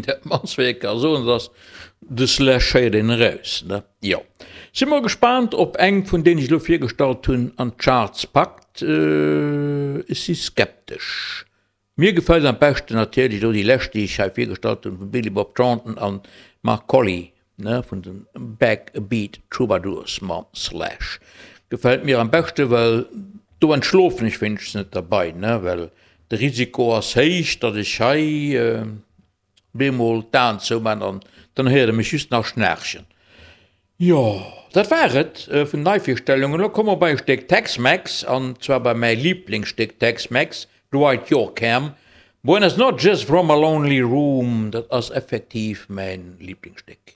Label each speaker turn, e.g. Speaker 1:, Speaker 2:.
Speaker 1: Dat mannst wat ee ka soen, dat ass, de Slash héiert een eraus, ne? Jo. Si mol gespaant op eng vun deenen ech elo virgestallt hunn an d'Charts packt. Ech si skeptesch. Mir gefält am beschten natierlech elo déi lescht déi ech hei virgestallt hunn vum Billy Bob Thornton an Mark Collie, ne, vun den Backbeat Troubadours mam Slash. Gefält mir am beschte well do entschlofen ech wéinstens net derbei, ne, well de Risiko ass héich datt ech hei Bemol d'Aen zoumaan an dann héiert e mech just nach schnaarchen. Jo, dat war et vun Neivirstellungen. Elo komme mer bei e Stéck Tex-Mex, an zwar bei mäi Liblingsstéck Tex-Mex, Dwight Yoakam, Buenas noches from a lonely room. Dat ass effektiv mäin Liblingsstéck.